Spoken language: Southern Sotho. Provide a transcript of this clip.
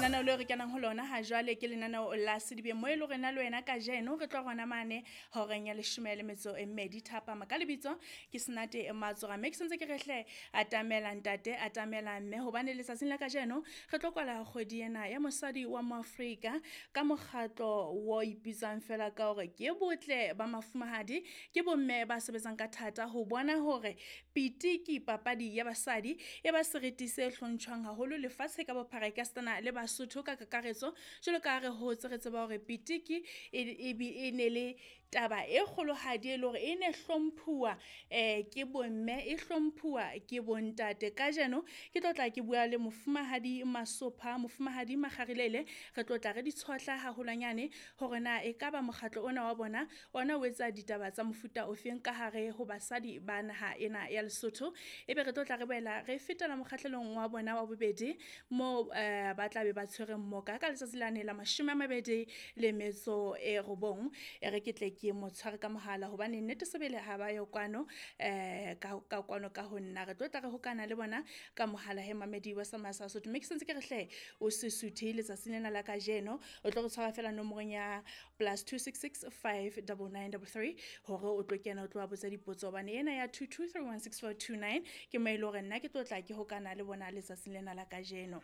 Lenaneo leo re kenang ho lona ha jwale ke lenaneo la Sedibeng, mo e le hore nna le wena kajeno re tlo rona mane horeng ya 12 thapama. Ka lebitso ke Senate Matsora, mme ke sentse ke re hle atamela ntate, atamela mme, hobane letsatsing la kajeno re tlo kwala kgwedi ena ya mosadi wa Moafrika ka mokgatlo wo ipitsang fela ka hore ke botle ba mafumahadi. Ke bomme ba sebetsang ka thata ho bona hore pitiki, papadi ya basadi, e ba seriti se hlontshwang haholo lefatshe ka bophara, ekasitana le Basotho ka kakaretso. Jwalo ka ha re hotse re tseba hore pitiki e ne le taba e kgolohadi, e le hore e ne hlomphuwa ke bomme, e hlomphuwa ke bontate. Kajeno ke tlo tla ke bua le mofumahadi Masopha, mofumahadi Makgarilele. Re tlo tla re di tshohla haholwanyane hore na ekaba mokgatlo ona wa bona ona o etsa ditaba tsa mofuta ofeng ka hare ho basadi ba naha ena ya Lesotho. Ebe re tlo tla re boela re fetela mokgahlelong wa bona wa bobedi, moo ba tla be ba tshwere mmoka ka letsatsi lane la 29. E re ke tle ke mo tshware ka mohala, hobane nnete sebele ha ba yo kwano, ka kwano ka ho nna. Re tlo tla re hokana le bona ka mohala he mamedi wa sa Sotho. Mme ke sentse ke re hle o se suthe letsatsing lena la kajeno, o tlo re tshwara fela nomorong ya +266 59933 hore o tlo kena, o tlo ba botsa dipotso, hobane ena ya 22316429 ke mo e le hore nna ke tlo tla ke hokana le bona letsatsing lena la kajeno.